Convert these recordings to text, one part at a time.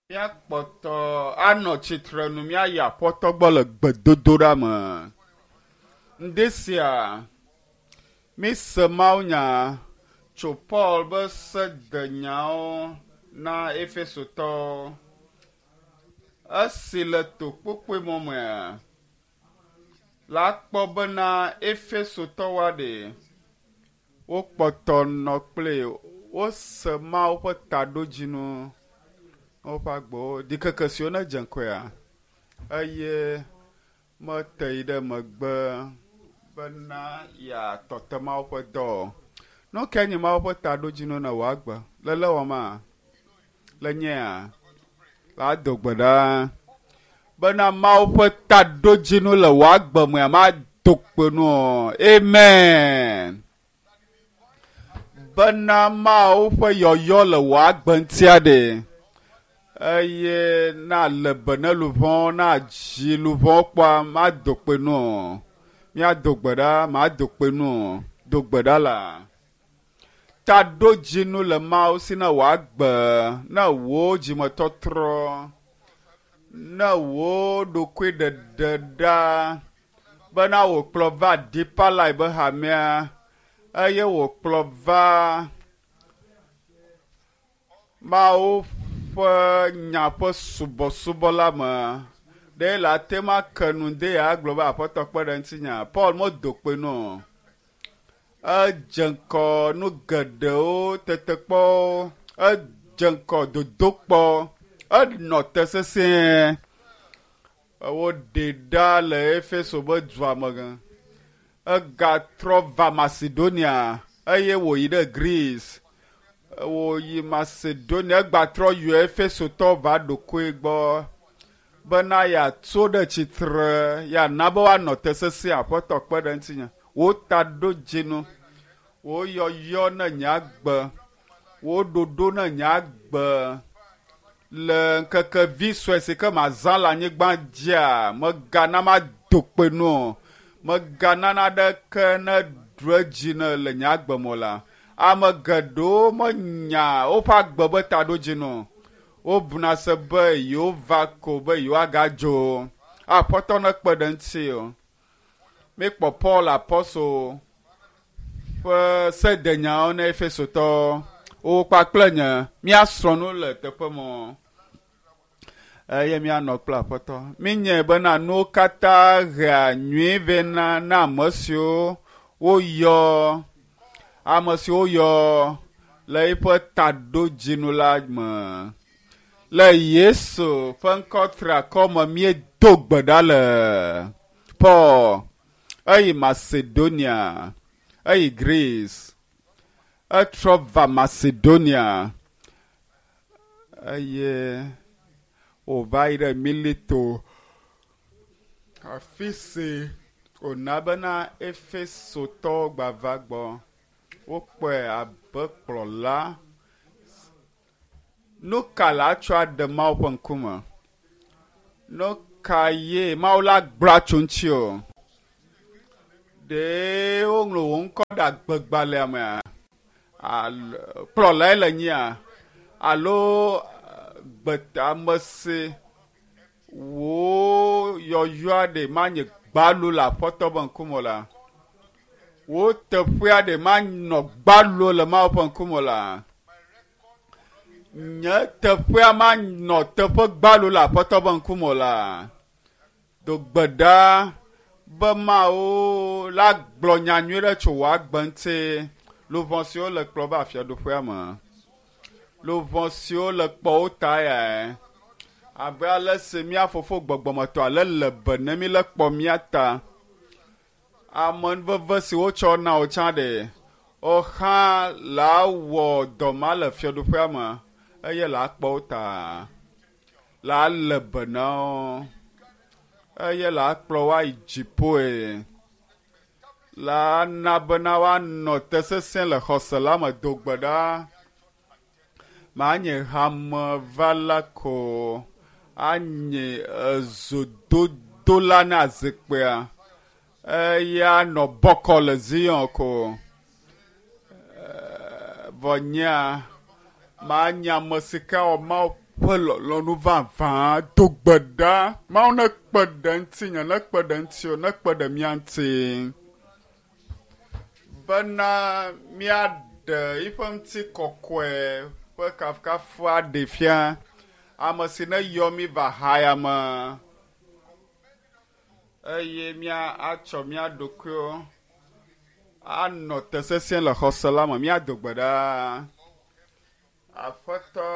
Míakpɔtɔ anɔ tsitrenu míayi Aƒetɔ gbɔ le gbedodoɖa me. Ŋdi sia, míse mawunya tso Paul be sedenyawo na Efesotɔwo. Esi le to kpokpoe mɔ mea, la kpɔ bena Efesotɔwoa ɖe wokpɔtɔ nɔ kpli wose Mawu ƒe taɖodzinu woƒe agbewo ɖikeke siwo ne dze ŋkɔea eye mete yi ɖe megbe bena yeatɔ te Mawu ƒe dɔ o. Nu kae nye Mawu ƒe taɖodzinu ne wò agbe le lé wɔma le nyea la do gbe ɖa bena Mawu ƒe taɖodzinu le wò agbe mea mado kpe nu o. Amen. Bena Mawu ƒe yɔyɔ le wò agbe ŋutia ɖe eye na le be ne luʋɔ na dzi luʋɔ kpɔa mado kpe nu o. Míado gbe ɖa mado kpe nu o. Do gbe ɖa la. Taɖodzinu le Mawu si ne wò agbe, ne wò dzimetɔtrɔ, ne wò ɖokuiɖeɖe ɖa bena wòkplɔ va Deeper Life be hamea eye wòkplɔ va Mawu ƒe nya ƒe subɔsubɔ la me. Ɖe le ate ŋu ake nu de ya agblɔ be Aƒetɔ kpe ɖe ŋutinya. Paul medo kpe nu o. Edze ŋgɔ nu geɖewo tetekpɔwo, edze ŋgɔ dodokpɔ, enɔ te sesĩe. Woɖee ɖa le Efeso be dua me. Egatrɔ va Macedonia eye wòyi ɖe Greece. Wòyi Macedonia, egbatrɔ yi Efesotɔwo va ɖokoe gbɔ bena yeatso ɖe tsitre, yeana be woanɔ te sesĩe. Aƒetɔ kpe ɖe ŋutinye. Wò taɖodzinu, wò yɔyɔ ne nye agbe, wò ɖoɖo ne nye agbe le ŋkeke vi sue si ke mazã le anyigba dzia, megana mado kpe nu o. Megana naɖeke ne ɖu edzi ne le nye agbe me o la. Ame geɖewo menya woƒe agbe be taɖodzinu o. Wobuna se be yewova ko be yewoagadzo. Aƒetɔ nekpe ɖe ŋuti o. Míekpɔ Paul apɔstol ƒe sedenyawo na Efesotɔwo. Wo kpakple nye míasrɔ̃ nu le teƒe mɔ eye míanɔ kple Aƒetɔ. Míenyae bena nuwo katã hea nyui vɛ na na ame siwo woyɔ, ame siwo woyɔ le eƒe taɖodzinu la me. Le Yesu ƒe ŋkɔ triakɔ me míedo gbe ɖa le Paul eyi Macedonia, eyi Greece, etrɔ va Macedonia eye wòva yi ɖe Mileto, afi si wòna bena Efesotɔwo gbava gbɔ. Wokpɔe abe kplɔla. Nu ka la atsɔ aɖe Mawu ƒe ŋkume? Nu ka ye Mawu la gblɔ atso ŋuti o? Ɖe woŋlɔ wò ŋkɔ ɖe agbegbalẽa mea? Alo kplɔlae le nyia? Alo ame si wò yɔyɔa ɖe manye gbalo le Aƒetɔ ƒe ŋkume o la? Wò teƒea ɖe manɔ gbalo le Mawu ƒe ŋkume o la? Nye teƒea manɔ teƒe gbalo le Aƒetɔ ƒe ŋkume o la? Do gbe ɖa be Mawu la gblɔ nya nyui ɖe tso wò agbe ŋuti. Luʋɔ siwo le kplɔ va fiaɖuƒea me. Luʋɔ siwo le kpɔ wo ta yae. Abe ale si mía fofo gbɔgbɔmetɔ ale le be ne mí le kpɔ mía ta. Amenuveve si wotsɔ na wò tsã ɖe, wò hã la wɔ dɔ ma le fiaɖuƒea me eye la kpɔ wo ta. La le be na wo eye la kplɔ wo ayi dziƒoe. La na bena woanɔ te sesẽ le xɔse la me do gbe ɖa. Manye hamevala ko anye ezododola na zikpuia eye anɔ bɔkɔ le Zion ko. Vɔ nyea manye ame si ke awɔ Mawu Ƒe lɔlɔ̃nu vavã do gbe ɖa. Mawu nekpe ɖe ŋutinye, nekpe ɖe ŋutiwò, nekpe ɖe mía ŋuti bena míaɖe eƒe ŋutikɔkɔe ƒe kafukafu aɖee fia ame si neyɔ mí va haya me eye míatsɔ mía ɖokuiwo anɔ te sesĩe le xɔse la me. Míado gbe ɖa. Aƒetɔ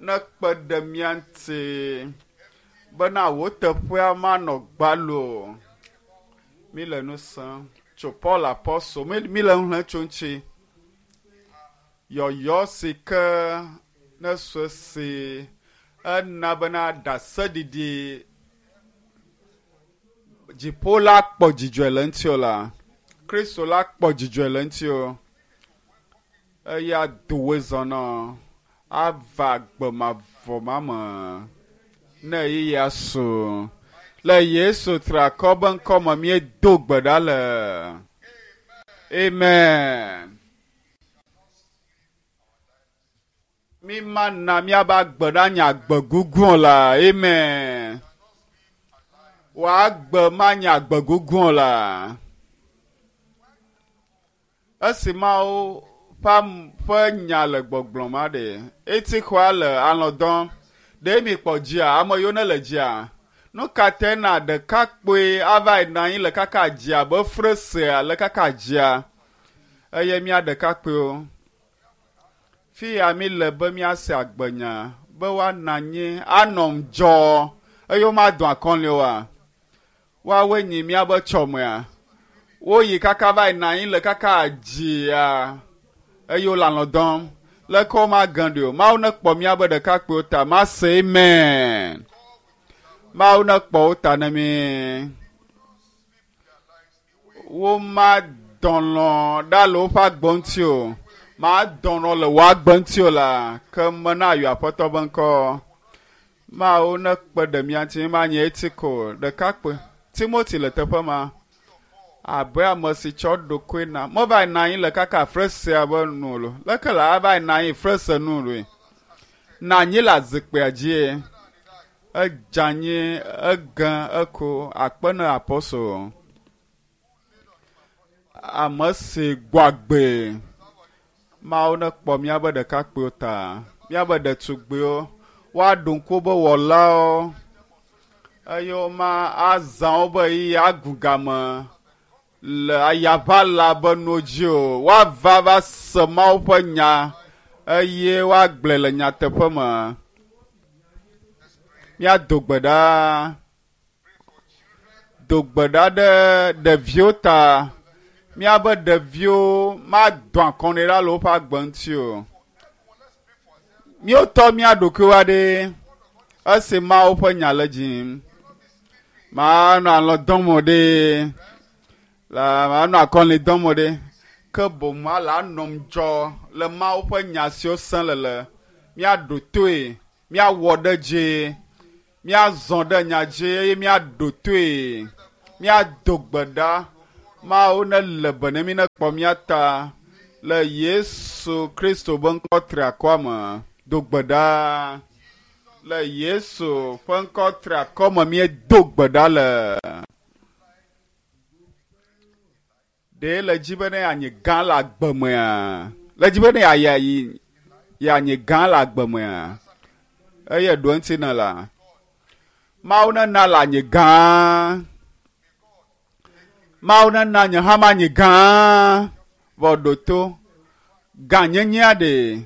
nekpe ɖe mía ŋuti bena wò teƒea manɔ gbalo o. Mí le nu sem tso Paul apɔstol, mí le nu xlẽm tso eŋuti. Yɔyɔ si ke ne sue si ena bena ɖaseɖiɖi dziƒo la kpɔ dzidzɔe le ŋutiwò la, Kristo la kpɔ dzidzɔe le ŋutiwò eye ado wòe zɔ nɔ ava agbe mavɔ ma me ne ɣeyiɣia su. Le Yesu triakɔ be ŋkɔ me míedo gbe ɖa le. Amen. Mi mana míabe agbe nanye agbe gugu o la. Amen. Wò agbe manye agbe gugu o la. Esi Mawu ƒe ƒe nya le gbɔgblɔm aɖe, eti xɔa le alɔ̃ dɔm. Ɖe mi kpɔ dzia? Ame yiwo ne le dzia? Nu ka tae na ɖekakpui ava yi nɔ anyi le kaka dzia abe fresea le kaka dzia? Eye mía ɖekakpuiwo, fi ya mi le be míase agbenya be woanɔ anyi anɔ ŋudzɔ eye womadɔ akɔli oa? Woawoe nyi míabe tsɔmea. Woyi kaka va yi nɔ anyi le kaka dzia eye wole alɔ̃ dɔm. Leke womage ɖi o. Mawu nekpɔ míabe ɖekakpuiwo ta. Mase amen. Mawu nekpɔ wo ta ne mí. Womadɔ lɔ̃ ɖa le woƒe agbe ŋuti o. Madɔ lɔ̃ le wò agbe ŋuti o la, ke mena ayɔ Aƒetɔ be ŋkɔ. Mawu nekpe ɖe mía ŋuti manye eti ko ɖekakpui. Timoti le teƒe ma abe ame si tsɔ ɖokui na. Meva yi nɔ anyi le kaka fresea be nu o. Leke la ava yi nɔ anyi frese nu ɖoe? Nɔ anyi le azikpuia dzie. Edze anyi, ege, eko akpe ne apɔstol. Ame si gbɔ agbe. Mawu nekpɔ míabe ɖekakpuiwo ta, míabe ɖetugbiwo, woaɖo ŋku wobe wɔlawo eye woma azã wobe ɣeyiɣi agu game le ayaʋala be nuwo dzi o. Woava va se Mawu ƒe nya eye woagblɔe le nyateƒe me. Míado gbe ɖa. Do gbe ɖa ɖe ɖeviwo ta. Míabe ɖeviwo madɔ akɔnɛ ɖa le woƒe agbe ŋuti o. Míwotɔ mía ɖokuiwo aɖe esi Mawu ƒe nya le dzim. Manɔ alɔ̃ dɔm o ɖe, la manɔ akɔli dɔm o ɖe. Ke boŋ ala anɔ ŋudzɔ le Mawu ƒe nya siwo sẽ le le. Míaɖo toe, míawɔ ɖe dzi, míazɔ ɖe nya dzi eye míaɖo toe, míado gbe ɖa. Mawu nele be ne mí nekpɔ mía ta le Yesu Kristo be ŋkɔ triakɔa me. Do gbe ɖa. Le Yesu ƒe ŋkɔ triakɔ me míedo gbe ɖa le. Ɖe le dzi be ne yeanyi gã le agbe mea? Le dzi be ne yeayi yeanyi gã le agbe mea? Eye ɖo eŋuti ne la. Mawu nena le anyi gã. Mawu nena nye hã manyi gã. Vɔ ɖo to. Gãnyenyea ɖe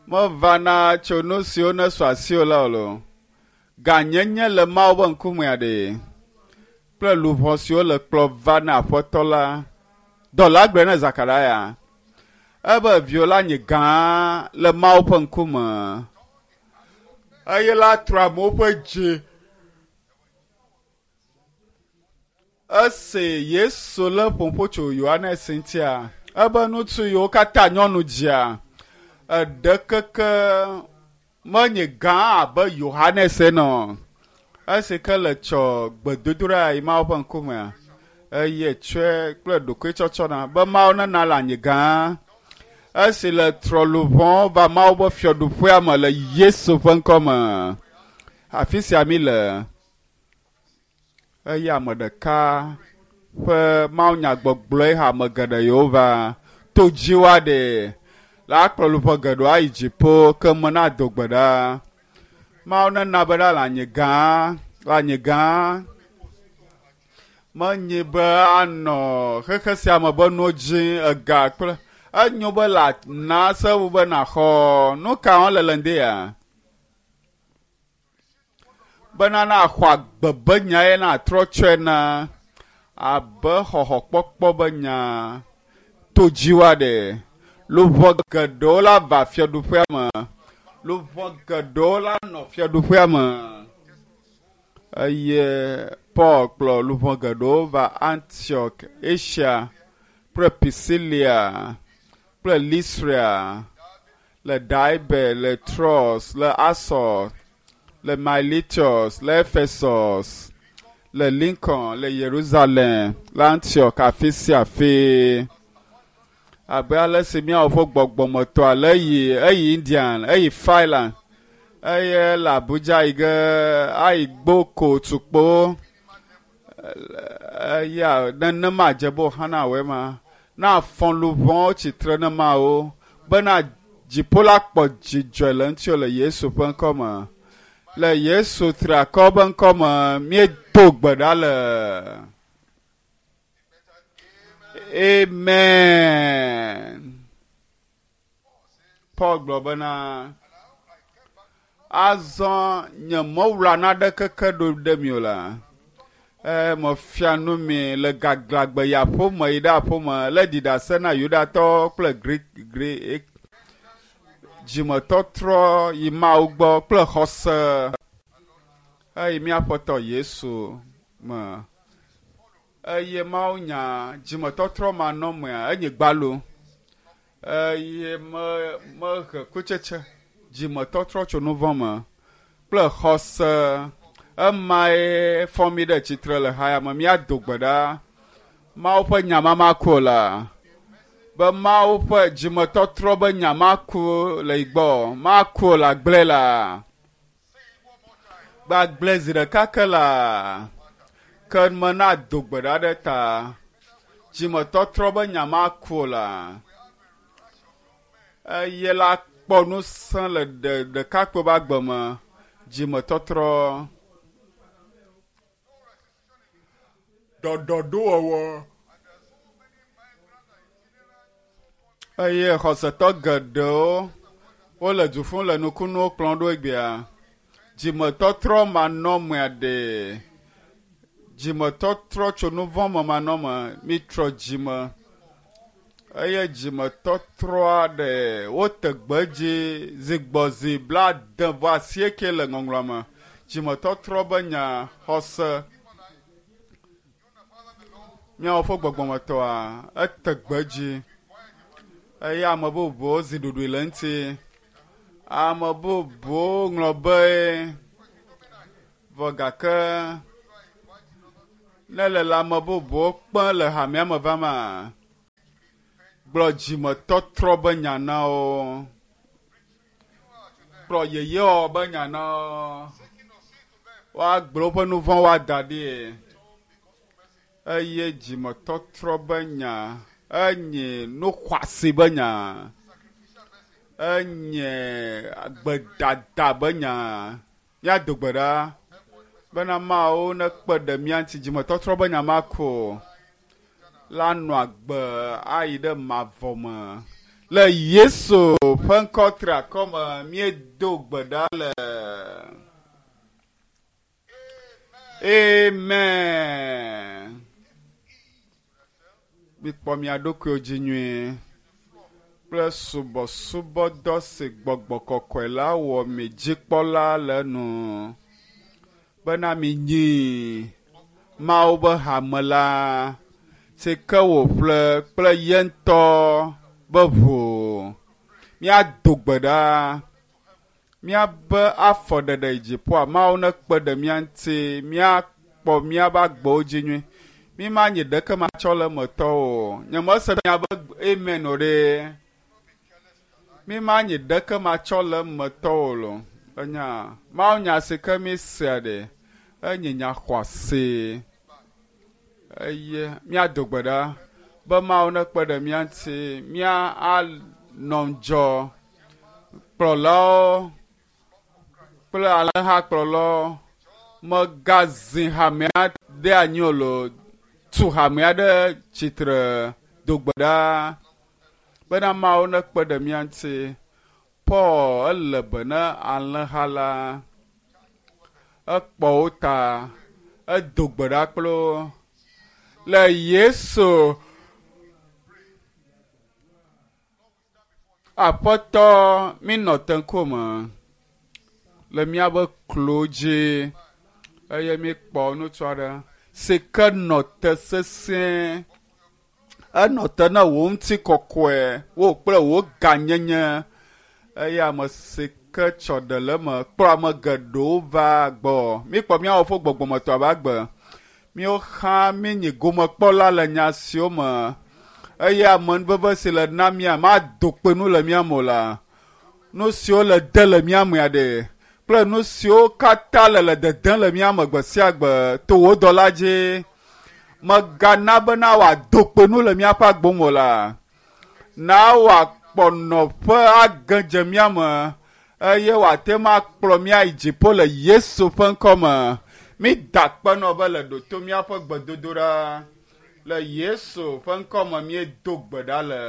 mevana tso nu siwo nesu asiwò la o lo. Gãnyenye le Mawu ƒe ŋkumea ɖe kple luʋɔ siwo le kplɔ va na Aƒetɔ la. Dɔla gblɔe na Zakaria ebe viwò la nyi gã le Mawu ƒe ŋkume eye la trɔ amewo ƒe dzi. Esi Yesu lé ƒoƒo tso Yohanes ŋutia, ebe ŋutsu yiwo katã nyɔnu dzia, eɖe keke menye gã abe Yohanes ene o. Esi ke le tsɔ gbedodoɖa yi Mawu ƒe ŋkumea, eye tsɔe kple ɖokuitsɔtsɔna be Mawu nena le anyi gã. Esi le trɔ luʋɔwo va Mawu ƒe fiaɖuƒea me le Yesu ƒe ŋkɔ me. Afi sia mi le. Eye ame ɖeka ƒe mawunyagbɔgblɔe hã ame geɖe yiwo va to dzi woaɖe la akplɔ luʋɔ geɖewo ayi dziƒo ke me na do gbe ɖa. Mawu nena be ɖa le anyigã, le anyigã. Menye be anɔ xexe sia me be nuwo dzi ega kple enyo be la na sewu be naxɔ nu ka wɔm le le ŋdi ya. Bena naxɔ agbe be nya ye natrɔ tsɔe na abe xɔxɔkpɔkpɔ be nya to dzi woaɖe. Luʋɔ geɖewo la va fiaɖuƒea me. Luʋɔ geɖewo la nɔ fiaɖuƒea me. Eye Paul kplɔ luʋɔ geɖewo va Antioch, Asia kple Pisilia kple Lystra, le Derbe, le Troas, le Assos, le Miletus, le Ephesus, le Lincoln, le Yerusalem, le Antioch, afi sia afi. Abe ale si míawo ƒe gbɔgbɔmetɔa le eyi eyi Indian, eyi Thailand, eye le Abuja yi ge ayi Gboko tukpo. Eya nenema dze be wòxana wɔe ma. Na afɔ luʋɔwo tsitre ne Mawu bena dziƒo la kpɔ dzidzɔe le ŋutiwò le Yesu ƒe ŋkɔ me. Le Yesu triakɔ ƒe ŋkɔ me míedo gbe ɖa le. Amen. Paul gblɔ bena, azɔ nye mewla naɖeke ke ɖo ɖe mi o la. E, mefia nu mi le gaglãgbe yi aƒeme yi ɖe aƒeme le ɖi ɖase na Yudatɔwo kple Greek Greek dzimetɔtrɔ yi Mawu gbɔ kple xɔse eyi míaƒetɔ Yesu me. Eye Mawu nya dzimetɔtrɔ manɔmea enye gbalo. Eye me mehe kutsetse dzimetɔtrɔ tso nu vɔ̃ me kple xɔse. Emae fɔ mi ɖe tsitre le haya me. Míado gbe ɖa. Mawu ƒe nya ma maku o la. Be Mawu ƒe dzimetɔtrɔ be nya maku le yi gbɔ. Maku o la gblẽ la. Gbagblẽ zi ɖeka ke la. Ke me na do gbe ɖa ɖe ta. Dzimetɔtrɔ be nya maku o la. Eye la kpɔ ŋusẽ le ɖe ɖekakpui ƒe agbe me. Dzimetɔtrɔ. Ɖɔɖɔɖowɔwɔ. Eye xɔsetɔ geɖewo wole du ƒum le nukunuwo kplɔm ɖo egbea. Dzimetɔtrɔ manɔmea ɖe. Dzimetɔtrɔ tso nu vɔ̃ me manɔme. Mitrɔ dzime. Eye dzimetɔtrɔa ɖe wote gbe dzi zi gbɔ zi 78 le ŋɔŋlɔa me. Dzimetɔtrɔ be nya xɔse. Míawo ƒe gbɔgbɔmetɔa ete gbe dzi eye ame bubuwo zi ɖoɖoe le eŋuti. Ame bubuwo ŋlɔ be vɔ gake ne le le ame bubuwo kpem le hamea me vama, gblɔ dzimetɔtrɔ be nya na wo. Gblɔ yeyewɔwɔ be nya na wo. Woagblɔ woƒe nu vɔ̃wo ada ɖi. Eye dzimetɔtrɔ be nya enye nu xɔasi be nya. Enye gbedada be nya. Míado gbe ɖa bena Mawu nekpe ɖe mía ŋuti dzimetɔtrɔ be nya maku o. La nɔ agbe ayi ɖe mavɔ me. Le Yesu ƒe ŋkɔ triakɔ me míedo gbe ɖa le. Amen. Mikpɔ mia ɖokuiwo dzi nyuie kple subɔsubɔdɔ si gbɔgbɔ kɔkɔe la wɔ mi dzikpɔla le enu bena minyi Mawu be hame la si ke wòƒle kple ye ŋutɔ be ʋu. Míado gbe ɖa. Míabe afɔɖeɖe yi dziƒoa, Mawu nekpe ɖe mía ŋuti míakpɔ míaƒe agbewo dzi nyuie. Mi ma nye ɖeke matsɔ le eme tɔwo o. Nye mese miabe amen o ɖe. Mi ma nyi ɖeke matsɔ le emetɔwo lo. Enya Mawu nya si ke mi sea ɖe enye nya xɔasi. Eye míado gbe ɖa be Mawu nekpe ɖe mía ŋuti mía anɔ ŋudzɔ kplɔlawo kple alẽhakplɔlawo megazi hamea ɖe anyi o lo tu hamea ɖe tsitre do gbe ɖa bena Mawu nekpe ɖe mía ŋuti. Paul ele be na alẽha la ekpɔ wo ta edo gbe ɖa kple wo le Yesu Aƒetɔ minɔ te ŋkume le míaƒe klo dzi eye míkpɔ ŋutsu aɖe si ke nɔ te sesĩe. Enɔ te na wò ŋutikɔkɔe, wò kple wò gãnyenye eye ame si ke tsɔ ɖe le eme kplɔ ame geɖewo va gbɔ. Míkpɔ míawo ƒe gbɔgbɔmetɔ ƒe agbe. Míwo hã míenyi gomekpɔla le nya siwo me eye amenuveve si le na mía mado kpe nu le mía me o la. Nu siwo le de le mía mea ɖe kple nu siwo katã le le dedem le mía me gbe sia gbe to wò dɔla dzi. Mègana bena wòado kpe nu le míaƒe agbo me o la. Na wòakpɔ nɔƒe age dze mía me eye wòate ŋu akplɔ mía yi dziƒo le Yesu ƒe ŋkɔ me. Mída akpe nɔ be le ɖo to míaƒe gbedodoɖa. Le Yesu ƒe ŋkɔ me míedo gbe ɖa le.